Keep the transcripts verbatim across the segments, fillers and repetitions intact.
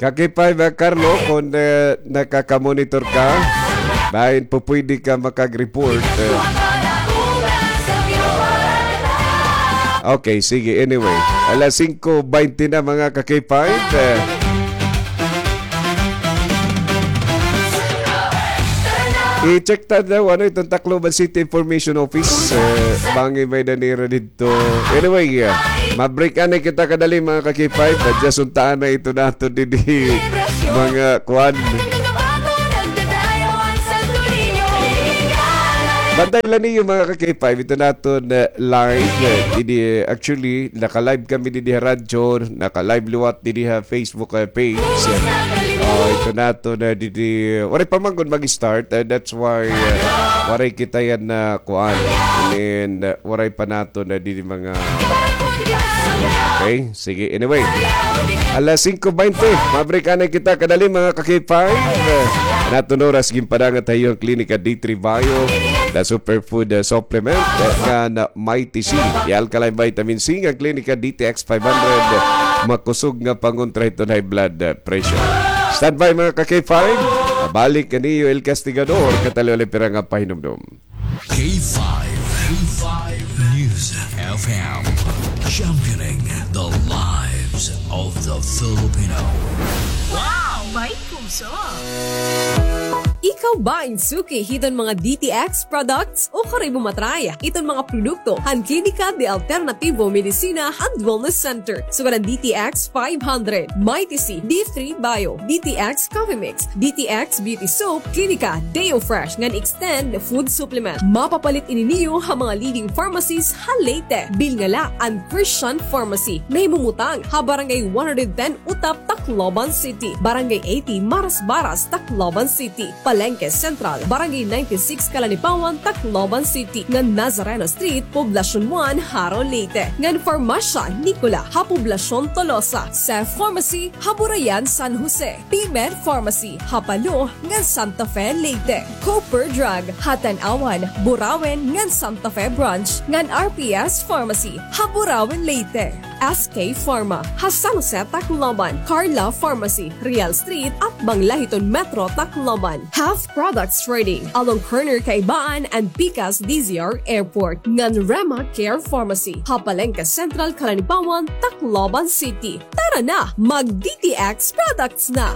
Ka K five, ah, Carlo, kung, eh, nakakamonitor ka, bahin pupwede ka makag-report, eh. Okay, sige. Anyway, alas singko baynte na, mga ka K five, eh. I-check ta daw, ano, iton Tacloban City Information Office, eh, bangin may-ada nira didto. So, anyway, ah, ma-break anay kita kadali, mga ka K five. Adya suntaan na iton aton didi, mga kuan. Bantay la niyo, mga ka K five, iton aton, eh, live, eh, didi, eh, actually, naka-live kami didi ha radyo, naka-live liwat didi ha Facebook, eh, page. Oh, iton aton, eh, didi, waray pa man gud mag-start, eh, that's why, eh, waray kita yana kuan. And, uh, waray pa naton na didi mga, okay, sige. Anyway, alas singko baynte, ma-break anay kita kadali, mga ka K five. Uh, an aton oras ginpadangat ha iyo an Klinika D three Bio, the superfood, uh, supplement, uh, ngan Mighty C, the alkaline vitamin C, ngan Klinika D T X five hundred, uh, makusog nga pangontra hiton high blood, uh, pressure. Standby, mga ka K five. Mabalik an iyo El Castigador, kataliwali pira nga pahinumdom. K five, K five News F M, championing the lives of the Filipino. Wow! May puso! Ikaw ba in suki hiton mga D T X products? O karoy mo ma-try iton mga produkto han Klinika de Alternativo Medicina and Wellness Center? Sugad an D T X five hundred, Mighty C, D three Bio, D T X Coffee Mix, D T X Beauty Soap, Klinika Deo Fresh, ngan Extend Food Supplement. Mapapalit ini niyo ha mga leading pharmacies ha Leyte. Bilnga la an Christian Pharmacy, nahimumutang ha Barangay one hundred ten Utap, Tacloban City, Barangay eighty Marasbaras, Tacloban City, Palengke Central, Barangay ninety-six Calanipawan, Tacloban City, ngan Nazareno Street, Poblacion one, Jaro, Leyte, ngan Farmasya Nicola ha Poblacion Tolosa, Seth Pharmacy ha Burayan, San Jose, P-Med Pharmacy ha Palo ngan Santa Fe, Leyte, Cooper Drug ha Tanauan, Burauen ngan Santa Fe Branch, ngan R P S Pharmacy ha Burauen, Leyte, S K Pharma ha San Jose, Tacloban, Carla Pharmacy, Real Street, atbang la hiton Metro Tacloban, Health Products Trading along corner Kaibaan and Pikas D Z R Airport, ngan Rema Care Pharmacy ha Palengke Central, Calanipawan, Tacloban City. Tara na, mag-D T X products na!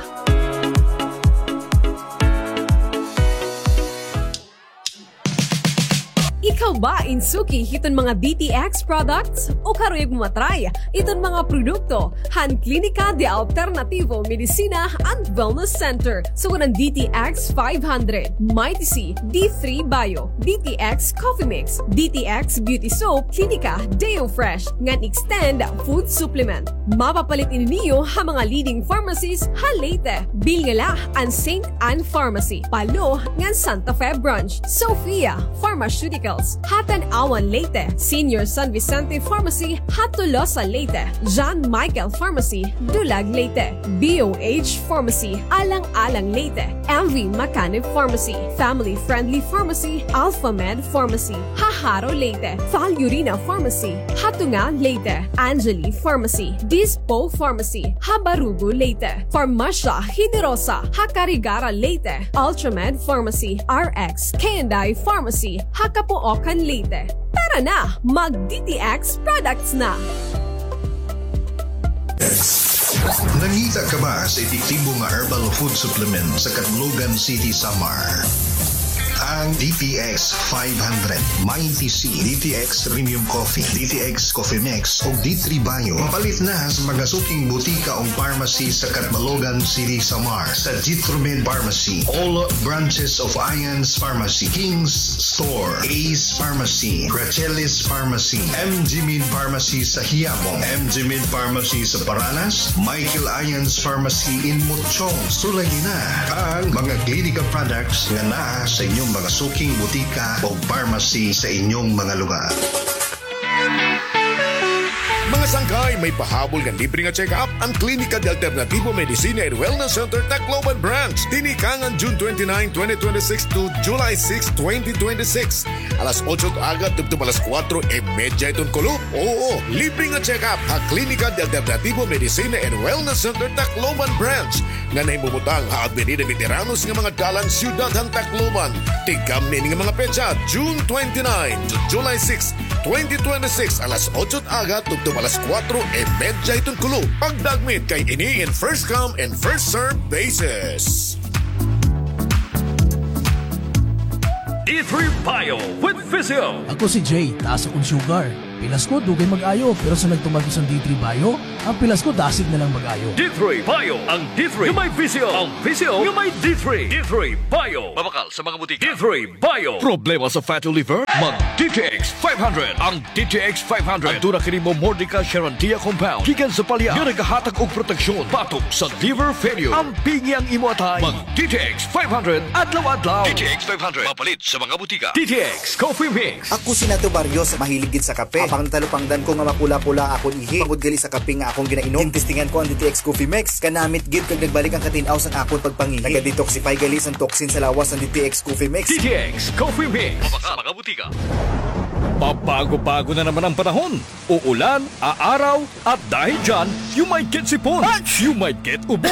Ikaw ba in suki hiton mga D T X products? O karuyag mo ma-try iton mga produkto han Klinika de Alternativo Medicina and Wellness Center? Sugad an D T X five hundred, Mighty C, D three Bio, D T X Coffee Mix, D T X Beauty Soap, Klinika Deo Fresh, ngan Extend Food Supplement. Mapapalit ini niyo ha mga leading pharmacies ha Leyte. Bilnga la an Saint Anne Pharmacy, Palo, ngan Santa Fe Branch, Sophia Pharmaceuticals ha Tanauan, Leyte, Senior San Vicente Pharmacy ha Tolosa, Leyte, John Michael Pharmacy, Dulag, Leyte, B O H Pharmacy, Alang-alang, Leyte, M V Macanib Pharmacy, Family Friendly Pharmacy, Alpha Med Pharmacy ha Jaro, Leyte, Valurina Pharmacy ha Tunga, Leyte, Angeli Pharmacy, Dispo Pharmacy ha Barugo, Leyte, Farmasya Generosa ha Carigara, Leyte, Ultramed Pharmacy, R X K and I Pharmacy ha Capoocan, Leyte. Tara na, mag-D T X products na! Nangita ka ba sa epektibo nga herbal food supplement sa Catbalogan City, Samar? Ang D T X five hundred, Mighty C, D T X Premium Coffee, D T X Coffee Mix, ug D three Bio. Mapalit na sa mga suking butika o pharmacy sa Catbalogan City, Samar, sa Jitromed Pharmacy, all branches of Ions Pharmacy, King's Store, Ace Pharmacy, Gracelis Pharmacy, M G Med Pharmacy sa Quiapo, M G Med Pharmacy sa Paranas, Michael Ions Pharmacy in Mochong. Sulayi na ang mga Klinika products nga naa sa inyong mga suking butika o pharmacy sa inyong mga lugar. Mga sangkay, May pahabol nga libre nga check-up an Klinika de Alternativo Medicina and Wellness Center Tacloban Branch. Tinikangan June twenty-nine, twenty twenty-six to July six, twenty twenty-six. Alas otso it aga tubtob alas kuwatro y medya hiton kulop. Oo, libre nga check-up ha Klinika de Alternativo Medicina and Wellness Center Tacloban Branch nga nahimumutang ha Avenida Veteranos nga mga dalan, siyudad han Tacloban. Tigamni ini nga mga petsa, June twenty-nine to July six, twenty twenty-six, alas otso it aga tubtob alas kuwatro y medya hiton kulop. Pagdagmit kay ini in first come and first serve basis. D three Bio with Physio. Ako si Jay, taas akon sugar. Pilas ko, dugay mag-ayo, pero sa nagtuman ko sa D three Bio, an pilas ko dasig na lang mag-ayo. D three Bio, ang D three nga may Physio, ang Physio nga may D three. D three Bio. Mabakal sa mga butika. D three Bio. Problema sa fatty liver? Mag D T X five hundred. Ang D T X five hundred. Aduna kini Momordica charantia compound gikan sa palya nga nagahatag og proteksyon batok sa liver failure. Ampingi ang imo atay. Mag D T X five hundred adlaw-adlaw. D T X five hundred. Mapalit sa mga butika. D T X Coffee Mix. Ako si Nato Barrios, mahilig gid sa kape. Habang natalupangdan ko nga mapula-pula akon ihi, bangod gali sa kape nga akon ginainom, ginstingan ko an D T X Coffee Mix. Kanamit gid kag nagbalik an katin-aw sa akon pagpangihi. Naga-detoxify gali sa toxin sa lawas an D T X Coffee Mix. D T X Coffee Mix. Mabakal sa mga butika. Pabago-bago na naman ang panahon. Uulan, aaraw, at dahil dyan, you might get sipon, you might get ubo,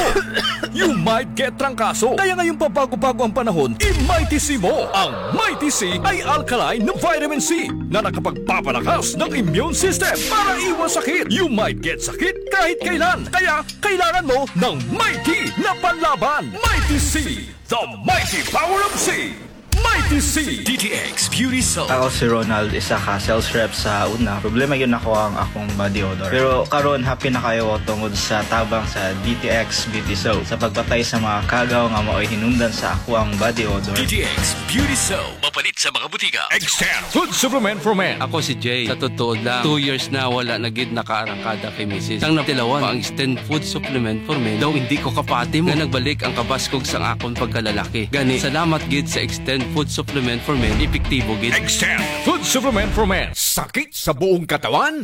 you might get trangkaso. Kaya ngayong pabago-bago ang panahon, i-Mighty C mo. Ang Mighty C ay alkaline na vitamin C na nakapagpapalakas ng immune system para iwas sakit. You might get sakit kahit kailan. Kaya kailangan mo ng Mighty na panlaban. Mighty C, the mighty power of C. Mighty C. D T X Beauty Soap. Ako si Ronald, isa ka sales rep sa una. Problema gyud nako ang akong body odor. Pero karon, happy na kaayo ko tungod sa tabang sa D T X Beauty Soap sa pagpatay sa mga kagaw nga maoy hinungdan sa akoang body odor. D T X Beauty Soap. Mapalit sa mga butika. Extend Food Supplement for Men. Ako si Jay. Sa totoo lang, two years na wala na gid nakaarangkada kay misis. Tang natilawan pa ang Extend Food Supplement for Men. Daw hindi ko kapati mo nga nagbalik ang kabaskog sang akon pagkalalaki. Gani, salamat gid sa Extend Food Supplement for Men, epektibo gid. Extend Food Supplement for Men. Sakit sa buong katawan?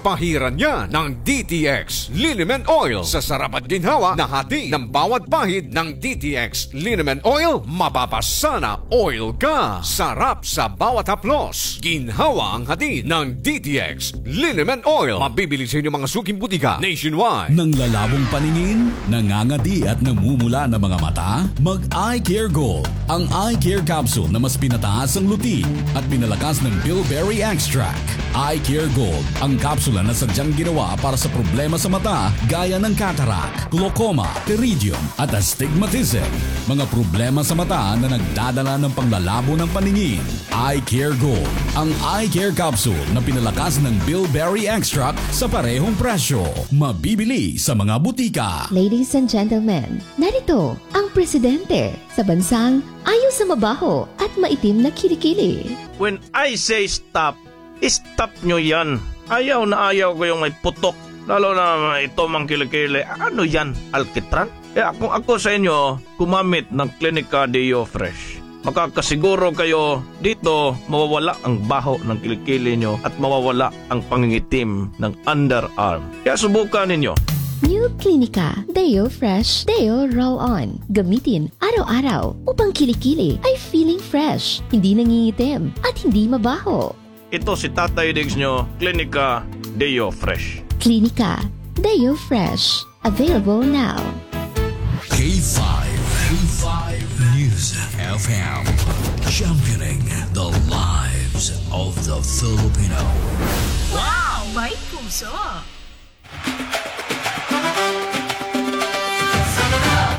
Pahiran niya ng D T X Liniment Oil. Sa sarap at ginhawa na hati ng bawat pahid ng D T X Liniment Oil, mapapasana oil ka. Sarap sa bawat haplos. Ginhawa ang hatid ng D T X Liniment Oil. Mabibili sa inyong mga suking butika nationwide. Nanglalabong paningin, nangangadi at namumula na mga mata? Mag Eye Care Gold. Ang Eye Care Capsule na mas pinataas ang luti at pinalakas ng bilberry extract. Eye Care Gold, ang kapsula na sadyang ginawa para sa problema sa mata gaya ng cataract, glaucoma, pterygium, at astigmatism. Mga problema sa mata na nagdadala ng panglalabo ng paningin. Eye Care Gold, ang eye care capsule na pinalakas ng bilberry extract sa parehong presyo. Mabibili sa mga butika. Ladies and gentlemen, narito ang presidente sa bansang ayaw sa mabaho at maitim na kilikili. When I say stop, stop nyo yan. Ayaw na ayaw ko yung may putok. Lalo na ito mang kilikili. Ano yan? Alkitran? Kaya kung ako sa inyo, gumamit ng Clinica Deo Fresh. Makakasiguro kayo dito mawawala ang baho ng kilikili nyo at mawawala ang pangingitim ng underarm. Kaya subukan ninyo. New Clinica Deo Fresh Deo Roll On. Gamitin araw-araw upang kilikili ay feeling fresh, hindi nangingitim, at hindi mabaho. Ito si Tatay Diggs nyo, Clinica Deo Fresh. Clinica Deo Fresh. Available now. K five, K five News F M, championing the lives of the Filipino. Wow! May puso!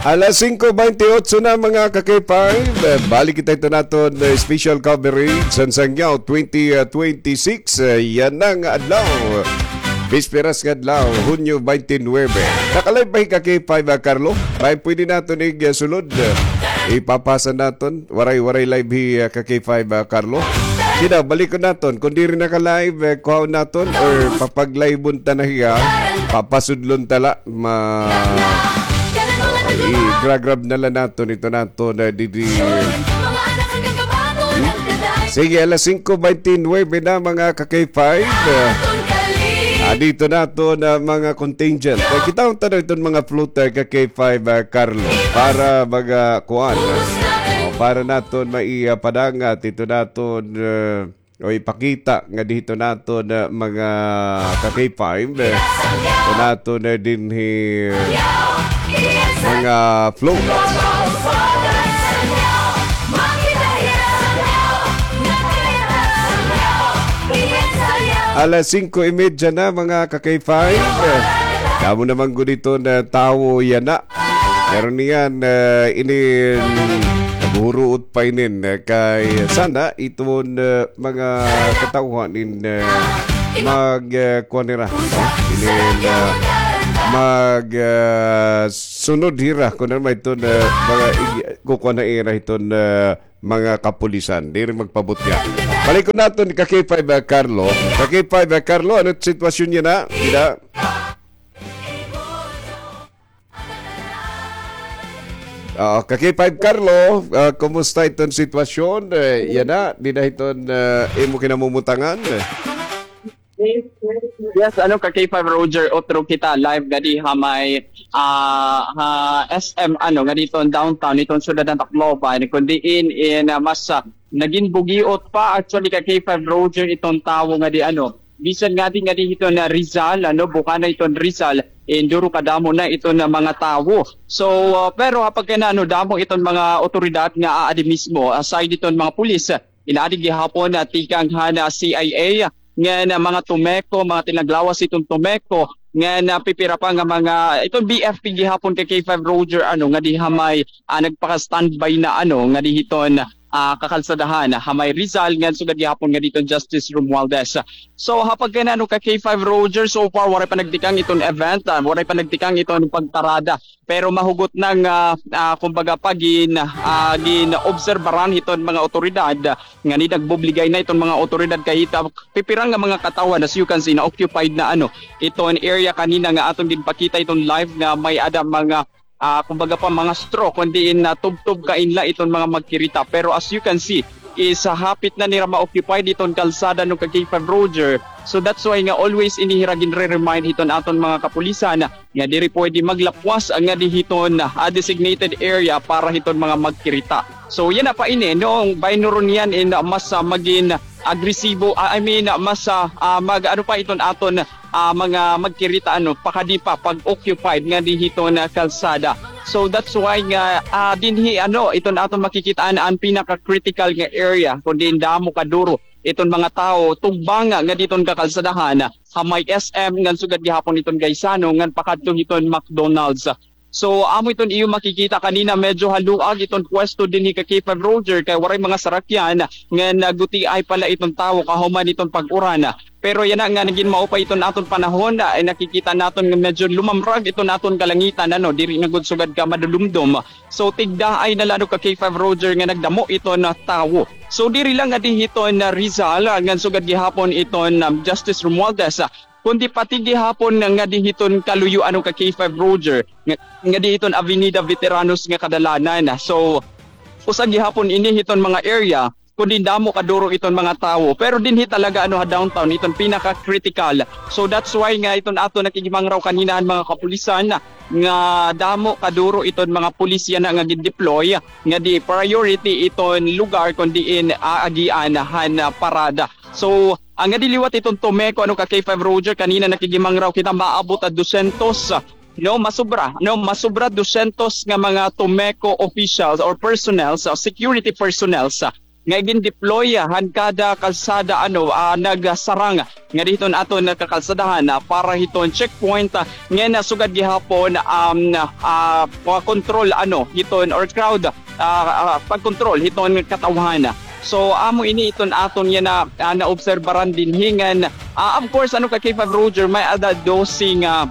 Alas singko baynte otso na, mga ka-K five. Eh, balik kita ito naton, eh, special coverage sa Sangyaw twenty twenty-six. Eh, yana nga adlaw. Bisperas nga adlaw, Hunyo baynte nuwebe. Naka-live ba hi ka-K five, ah, Carlo? May pwede naton ig, eh, sulod. Eh, ipapasa naton. Waray, waray live hi, ah, ka-K five, ah, Carlo. Sige daw, balikon naton. Kung diri naka-live, eh, kuhaon naton or papag-live-on ta na hiya. Papasudlon ta la. Ma-, i-grab-grab na la naton ito naton, eh, didi. Sige, alas singko baynte nuwebe na, mga ka-K five. Ah, Dito naton, ah, mga contingent. Kay kita unta na iton mga floater ka K five, ah, Carlo. Para mga kuan. O, para naton maipadangat ito naton, ah, o ipakita nga dito naton, ah, mga ka K five, eh. Ito naton, ah, dinhi mga float. Alas singko y medya na, mga ka K five. Damo naman gud iton tawo yana. Pero niyan, eh, inin naghuhuruot pa inin, eh, kay sana iton, eh, mga katawhan in, eh, mag, eh, kuan nira, no? Inin, eh, mag, eh, sunod hira, kun ano man iton, eh, mga ig-, kukuan na ira iton, eh, mga kapulisan. Diri magpabutnga. Balik ko naton ka K five, ah, Carlo. Ka K five, ah, Carlo, ano sitwasyon niya na? Dida? Ah, ka K five Carlo, ah, kumusta iton sitwasyon? Eh, yana, dida hiton, ah, imo kinamumutangan? Yes, ano ka K five Roger, utro kita live gadi ha may, ah, ha S M, ano, nga dito downtown, itong syudad ng Tacloban, kundi in, in, ah, mas, ah, naging bugiot pa, actually, ka K five Roger, itong tawo nga di, ano, bisan nga di, nga di ito na Rizal, ano, buka na ito Rizal, in duro kadamo na ito na mga tawo. So, ah, pero kapag ka na, ano, damo iton mga otoridad nga aadi mismo, aside iton mga pulis, ah, inaadi gihapon na tikang han, ah, C I A, nga na mga Tomeco, mga tinaglawas iton Tomeco, nga na pipira pa nga mga, iton B F P gihapon ka K five Roger, ano, nga di ha may, ah, nagpaka-standby na, ano, nga di hiton, ah, kakalsadahan, ha may Rizal, nga sugad gihapon nga diton Justice Romualdez. So, ha pagkanano ka K five Roger, so far, waray pa nagtikang iton event, ah, waray pa nagtikang iton pagparada. Pero mahugot na nga, ah, kumbaga pa, gin-, ah, gin-obserbaran hiton mga otoridad, nga ni nagbubligay na iton mga otoridad kay hita, pipira nga mga katawhan, as you can see, na occupied na, ano, iton area kanina nga aton ginpakita iton live nga may-ada mga, ah, kumbaga pa, mga straw, kundi in, ah, tubtob kainla iton mga magkirita. Pero as you can see, is, ah, hapit na nira ma-occupy diton kalsada, no, ka K five Roger. So that's why nga always ini hira ginre-remind hiton aton mga kapulisan nga diri pwede maglapwas nga di hiton, ah, designated area para hiton mga magkirita. So yana pa ini, no, baynuron niyan in, ah, mas, ah, magin agresibo, ah, I mean, ah, mas, ah, ah, mag-, ano pa iton aton, ah, mga magkirita, ano, pakadi pa pag-occupied nga di hiton kalsada. So that's why nga, ah, dinhi, ano, iton aton makikitaan an pinaka-critical nga area, kundi damo kaduro iton mga tawo tugbanga nga diton kakalsadahan, ha may S M ngan sugad gihapon iton Gaisano ngan pakadto hiton McDonald's. So, amo iton iyo makikita kanina, medyo haluag iton pwesto dinhi ka K five Roger kay waray mga sarakyan ngan nagutiay pala iton tawo kahuman iton pag-uran. Pero yana nga nagin maupay iton aton panahon, ah, ay nakikita naton nga medyo lumamrag iton aton kalangitan, ano, diri na gud sugad ka madulumdom. So, tigdaay na la, ano, ka K five Roger nga nagdamo iton, ah, tawo. So, diri lang nga di hiton, ah, Rizal, ah, ngan sugad gihapon iton, um, Justice Romualdez, ah, kundi pati gihapon nga di hiton kaluyo, ano, ka K five Roger, nga, nga di hiton Avenida Veteranos nga kadalanan. So, usa gihapon ini hiton mga area kundi damo kaduro iton mga tawo. Pero dinhi talaga, ano, ha downtown, iton pinaka-critical. So that's why nga iton aton nakigimangraw kanina han mga kapulisan nga damo kaduro iton mga pulis yana nga gin-deploy nga di priority iton lugar kundi in aagian han, ah, parada. So, ah, nga di liwat iton Tomeco, ano, ka K five Roger, kanina nakigimangraw kita, maabot ha dosyentos, no, masobra, no, masobra dosyentos nga mga Tomeco officials or personnels, ah, security personnels, ah, nga gin-deploy, ah, han kada kalsada, ano, ah, nagsarang nga di hiton aton kakalsadahan, ah, para hiton checkpoint, ah, nga nasugad gihapon, um, ah, control, ano, hiton or crowd, ah, ah, pagkontrol hiton katawhan. So, amo ini iton aton yana, ah, naobserbaran dinhi ngan, ah, of course, ano, ka K five Roger, may-ada dose nga,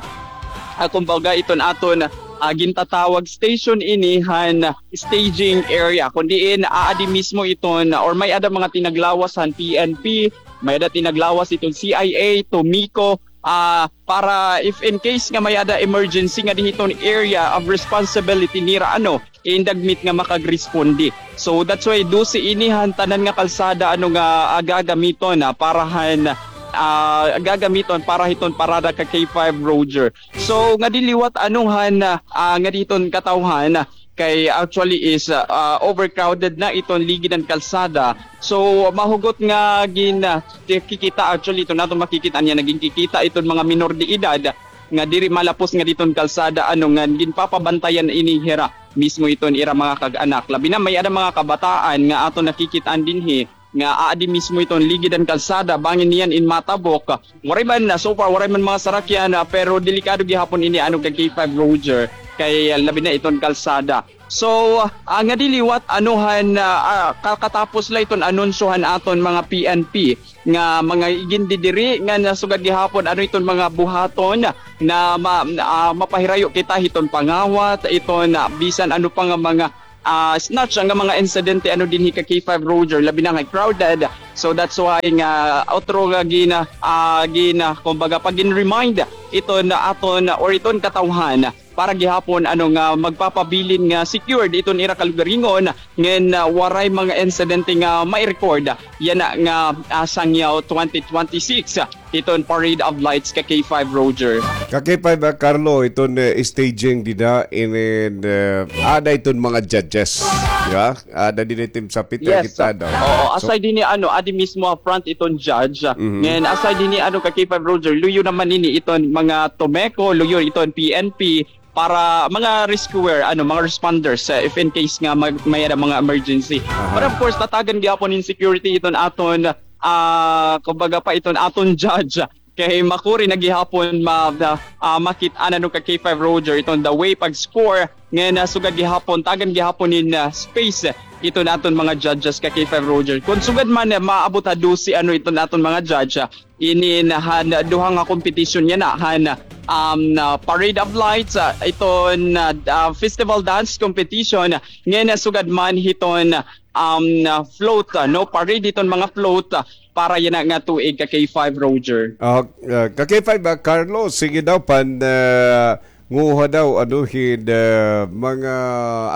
ah, kumbaga, iton aton, ah, gintatawag station ini han staging area. Kun diin, aadi mismo iton, or may-ada mga tinaglawas han P N P, may-ada tinaglawas iton C I A, Tomeco, ah, para if in case nga may-ada emergency nga dinhi hiton area of responsibility nira, ano, indagmit nga makagresponde. So that's why dose ini han tanan nga kalsada, ano, nga gagamiton, ah, para han, ah, gagamiton para hiton parada ka K five, Roger. So, ngadi liwat ano han, ah, ngadi hiton katawhan, kay actually is, ah, overcrowded na iton ligid han kalsada. So, mahugot nga gin, ah, kikita actually iton aton makikit-an yana, ginkikita iton mga minor de edad nga diri malapos ngadi hiton kalsada, ano, nga ginpapabantayan ini hira mismo iton ira mga kag-anak. Labi na may-ada mga kabataan nga aton nakikit-an dinhi nga aadi mismo iton ligid han kalsada, bangin niyan in matabok. Waray man, ah, so far, waray man mga sarakyan, ah, pero delikado gihapon ini, ano, ka K five, Roger, kay, ah, labi na iton kalsada. So, ah, ngadi liwat, ano, han, ah, ah, kakatapos la iton anunsyo han aton mga P N P nga mga igindidiri nga nasugad gihapon, ano, iton mga buhaton na ma-, ah, mapahirayo kita hiton pangawat, iton, ah, bisan ano pa nga mga ah, snatch nga mga insidente, ano, dinhi ka K five, Roger, labi na nga crowded. So that's why nga otro nga gina-, ah, gina-, kumbaga, pagin-remind iton aton or iton katawhan para gihapon, ano, nga magpapabilin nga secured iton ira kalugaringon ngan, ah, waray mga insidente nga mai-record yana nga, ah, Sangyaw twenty twenty-six. Iton Parade of Lights ka K five, Roger. Ka K five, ah, Carlo, iton, eh, staging dida, inin, eh, ada iton mga judges, di ba? Ada dinhi tim sapit, yes, kita daw. Oo, so, aside dinhi, ano, adi mismo ha front iton judge. Mhm. Ngan aside dinhi, ano, ka K five, Roger, luyo naman ini iton mga Tomeco, luyo iton P N P, para mga rescuer, ano, mga responders, eh, if in case nga mag-, may-ada mga emergency. Aha. But of course, tatagan gihapon in security iton aton, ah, kumbaga pa iton aton judge. Kay makuri na gihapon ma-, ah, makit-an, ano, ka K five, Roger, iton the way pag-score. Ngan, ah, sugad gihapon, tagan gihapon in, ah, space iton aton mga judges ka K five, Roger. Kon sugad man, eh, maabot ha dose, ano, iton aton mga judge, ah, inin han duha nga competition yana, han, um, ah, Parade of Lights, ah, iton, ah, ah, Festival Dance Competition, ngan, ah, sugad man hiton, um, ah, float, ah, no, parade hiton mga float, ah, para yana nga tuig ka K five, Roger. Ah, ah, ka K five, ah, Carlo, sige daw, pan, ah, nguha daw, ano, hin, ah, mga,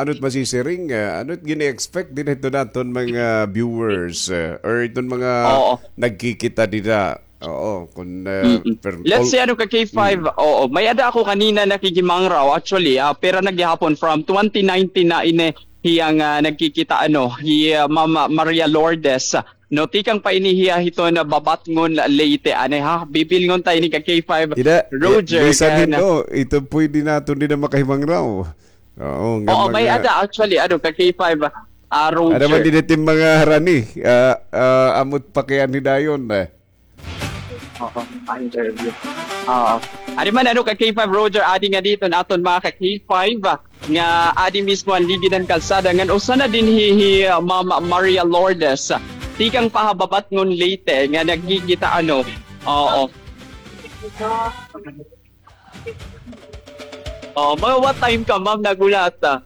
ano it masisiring, ah, ano it gini-expect dinhi hiton aton mga viewers, ah, or iton mga, oo, nagkikita dida. Oo, kun, ah, mm-mm, per-, let's say, ano, ka K five, mm, oo, may-ada ako kanina nakikimangraw, actually, ah, pira na gihapon, from twenty nineteen na ini hiya nga, ah, nagkikita, ano, hi, ah, Mama Maria Lourdes, no, tikang pa ini hiya hiton, ah, Babatngon, Leyte, ani, ha? Bibilngon ta ini ka K five, ida, Roger, bisan hin, no, ito pwede naton dida makahimangraw. Oo, nga, oo, mga may-ada actually, ano, ka K five, ah, Roger. Ada man dida tim mga harani, ah, ah, amo it pakianhi dayon, eh. Oo, pa-interview. Oo. Adi man, ano, ka K five, Roger, adi ngadi iton aton mga ka K five, ah, nga adi mismo han ligid han kalsada ngan usa na dinhi hi, ah, Ma'am Maria Lourdes. Tikang pa ha Babatngon, Leyte, nga nagkikita, ano. Oo. Oh, mga what time ka, ma'am, naghulat, ah?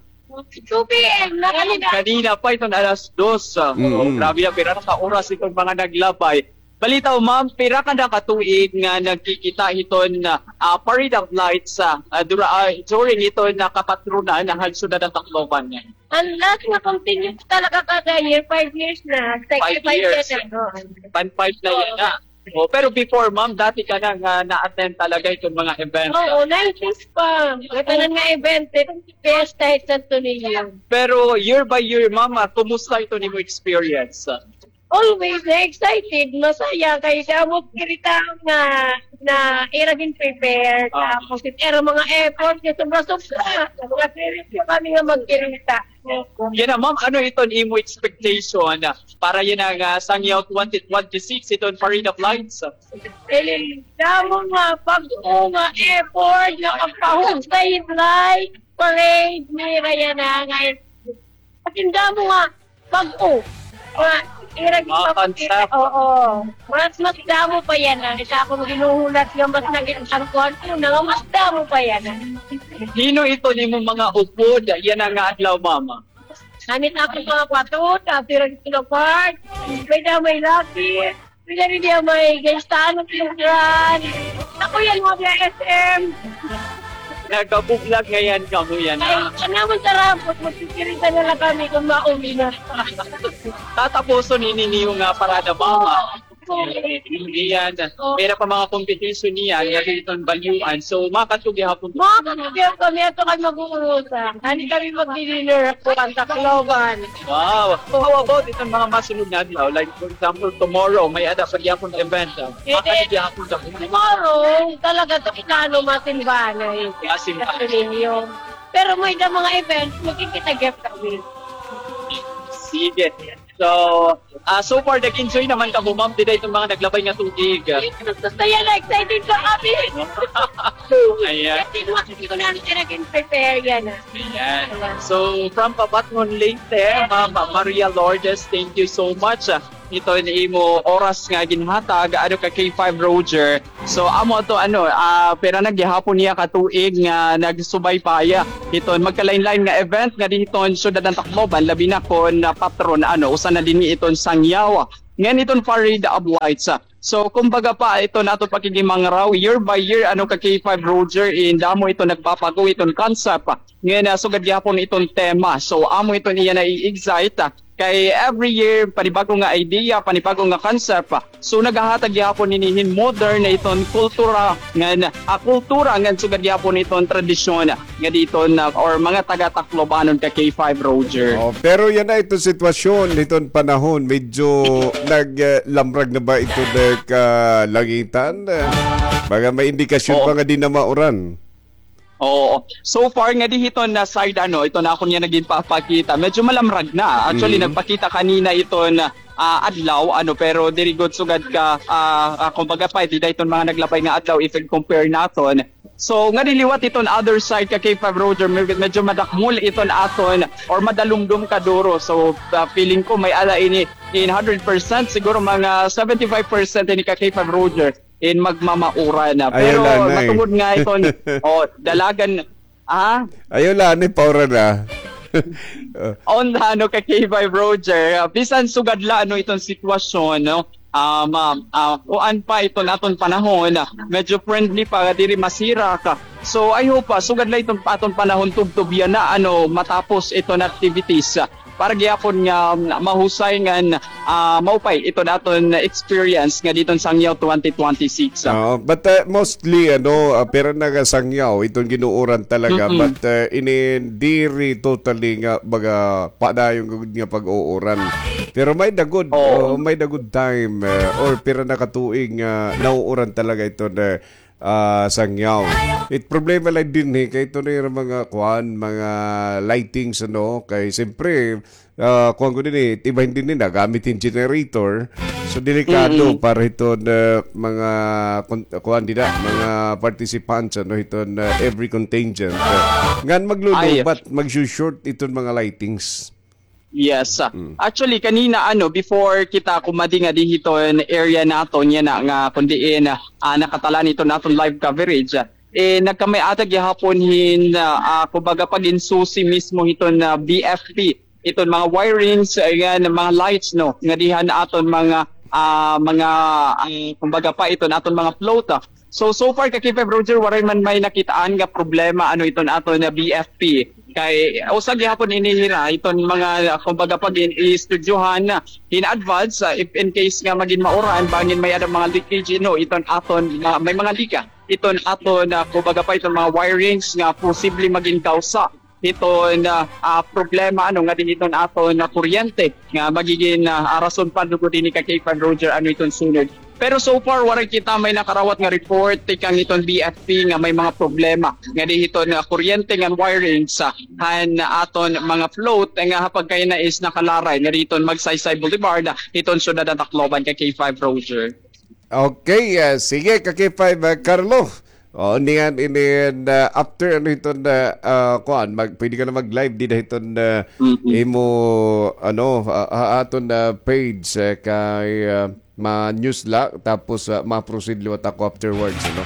Two P M na kanina. Kanina pa, iton alas dos, ah. Mm-mm. Oh, grabe na, pira na ka oras iton mga naglabay. Balitaw, ma'am, pira ka na ka tuig nga nagkikita hiton, ah, Parade of Lights, ah, ah, dura-, ah, during hiton, ah, kapatronan han syudad han Tacloban? An last nga continue talaga kada year, five years na. Five years. Second five years na, oo. Pan five na yana. Oh, pero before, ma'am, dati ka na nga na-attend talaga iton mga event? Oo, nineties pa. Ngatanan nga event, eh, fiesta, eh, Santo Niño. Pero year by year, ma'am, ah, kumusta iton imo experience? Always na-excited, masaya, kay damo it kirita nga, na ira gin-prepare, ah, tapos it ira mga effort, nga sobra-sobra. Nag-serious kami nga magkirita. Yana, ma'am, ano iton imo expectation, ah, para yana nga Sangyaw twenty twenty-six, iton Parade of Lights? Eh, damo nga bag-o nga effort nga pagpahusay it light parade nira yana nga, as in, damo nga bag-o. Nga, ira gipapakita. Oo. Mas, mas damo pa yana. Ita akon ginhuhulat nga mas naging ang kuwan ko na nga mas damo pa yana. Hin-o iton imo mga upod yana nga adlaw, ma'am? An akon mga kuwatot, after ang Sino Park, may damo, may Lucky, may damo, may Gaisano, Pinagran. Ako yana, mga S M. Nagabublag ngay-an kamo yana. Ay, ano man, sarap, magkikirita na la kami kon mauwi na. Tatapuson ini niyo nga parada, ma'am. Iyan, may-ada pa mga competition niyan, nga diri iton Balyuan. So, makakatug gihapon. Makakatug gihapon kami, ato kami mag-uurusa. Ani kami magdi-dinner ko, ang Tacloban. Wow. So, how about iton mga masunod nga adlaw? Like, for example, tomorrow, may-ada pa gihapon event, ah. Makakatug gihapon kami. Tomorrow, talaga to, inano, masimbahan na yun. Masimbahan. Pero may-ada mga event, magkikita gihap kami. Sige. So, ah, so far, nag-enjoy naman kamo, ma'am, dida iton mga naglabay nga tubig. Gusto yan, excited ko kami. Ayan. Kasi mga hindi ko na siya naging prepare yan, ah. Ayan. So, from Pabatngon, Leyte, Ma'am Maria Lourdes, thank you so much, ah, iton imo oras nga ginhatag, ano, ka K five Roger. So, amo ato, ano, ah, pira na gihapon niya ka tuig nga nagsubaybay hiton magkalain-lain nga event nga diri hiton syudad han Tacloban, labi na kon, ah, patron, ano, usa na dinhi iton Sangyaw. Ngan iton Parade of Lights, ah. So, kumbaga pa, iton aton pakikimangraw, year by year, ano, ka K five Roger, in damo iton nagbabago iton concept. Ngan, ah, sugad gihapon iton tema. So, amo iton iya na-excite, ah. Kay every year, panibago nga idea, panibago nga concept. So, naghahatag gihapon ini hin modern na iton kultura ngan, ah, kultura ngan sugad gihapon iton tradisyon nga diri iton, ah, or mga taga-Taclobanon ka K five Roger. Oh, pero yana iton sitwasyon, iton panahon, medyo nag, ah, lamrag na ba ito, ah, kalangitan? Ah, baga may indikasyon pa nga diri na mauran. Oo. So far nga diri hiton na side, ano, iton akon nga ginpapakita, medyo malamrag na. Actually, nagpakita kanina iton, ah, adlaw, ano, pero diri gud sugad ka, ah, ah, kumbaga pa, dida iton mga naglabay nga adlaw if i-compare naton. So, nga diri liwat iton other side ka K five Roger, med-, medyo madakmol iton aton or madalumdom kaduro. So, ah, feeling ko may-ada ini in hundred percent, siguro mga seventy-five percent ini ka K five Roger in magmamauran na. Pero matungod nga iton, oh, dalagan, ah? Ayaw la, ano, pauran na. On, ano, ka K five Roger, ah, bisan sugad la, ano, iton sitwasyon, no? Ah, ma-, ah, kuan pa iton aton panahon, ah, medyo friendly pa, diri masirak. So, I hope, ah, sugad la iton aton panahon, tubtob yana, ano, matapos iton activities, ah, para gihapon nga, mm, mahusay ngan, ah, maupay iton aton experience nga diri hiton Sangyaw twenty twenty-six, ah. Oo, but, ah, mostly, ano, ah, pira na nga Sangyaw iton gin-uuran talaga, but, ah, ini diri totally nga baga padayon gud nga pag-uuran. Pero may-ada gud, oo, may-ada gud time, ah, or pira na ka tuig nga nauuran talaga iton, ah, ah, Sangyaw. It problema la dinhi kay ito na yung mga kuan, mga lightings, ano, kay siyempre, ah, kuan ko dinhi, iba dinhi nagamit hin generator. So, delikado para hiton, ah, mga kun-, kuan dida, mga participants, ano, hiton, ah, every contingent. Ah, ngan maglulubat, magsushort iton mga lightings. Yes. Actually, kanina, ano, before kita kumadi nga diri hiton area naton yana nga kun diin, ah, nakatalan iton aton live coverage, ah, eh, nagkamay-ada gihapon hin, ah, ah, kumbaga, pag-insusi mismo hiton, ah, B F P, iton mga wirings, ayan, mga lights, no, nga diri han aton mga, ah, mga, ah, kumbaga pa, iton aton mga float, ah. So, so far, ka K five Roger, waray man may nakitaan nga problema, ano, iton aton nga B F P. Kay, usa gihapon ini hira, iton mga, ah, kumbaga, pag-in-, i-studyohan na in advance, ah, if in case nga magin mauran, bangin may-ada mga leakage, no, iton aton, ah, may mga lika, iton aton, ah, kumbaga pa, iton mga wirings nga posible magin kausa hiton, ah, ah, problema, ano, nga diri hiton aton, ah, kuryente nga magigin, ah, ah, rason pa lugod ini ka K five Roger, ano, iton sunod. Pero so far, waray kita may nakarawat nga report tikang hiton B F P nga may mga problema nga diri hiton, ah, kuryente ngan wirings han aton mga float nga ha pagkayana is nakalaray nga diri hiton Magsaysay Boulevard, ah, hiton syudad han Tacloban, ka K five Roger. Okay, ah, sige, ka K five, ah, Carlo. O, niyan, inin, ah, after, ano, hiton, ah, ah, kuan, mag-, pwede ka na mag-live dida hiton, ah, imo, ano, ah, ah, aton, ah, page, eh, kay, ah, ma-news la, tapos, ah, ma-proceed liwat ako afterwards, ano.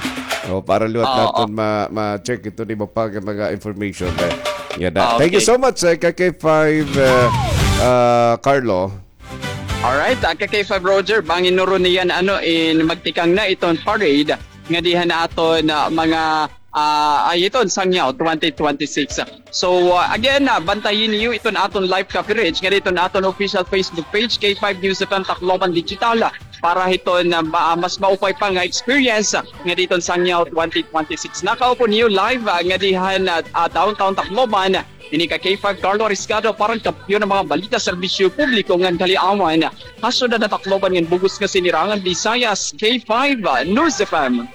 O, para liwat naton ma-, ma-check iton iba pa nga mga information, eh. Yan na. Thank you so much, eh, ka K five, ah, ah, Carlo. Alright, ah, ka K five Roger, bangin nuron niyan, ano, in magtikang na iton parade nga diri han aton, ah, mga, ah, ay, iton Sangyaw twenty twenty-six. So, ah, again, ah, bantayi niyo iton aton live coverage nga diri hiton aton official Facebook page, K five News F M Tacloban Digital, ah, para hiton, ah, ma-, mas maupay pa nga experience, ah, ngadi hiton Sangyaw twenty twenty-six. Nakaupo niyo live, ah, ngadi han, ah, ah, Downtown Tacloban. Ini ka K five Carlo Riscado para han kampiyon han mga balita serbisyo publiko ngan kaliawan. Ha syudad han Tacloban ngan bug-os nga sinirangan Visayas, K five, ah, News F M.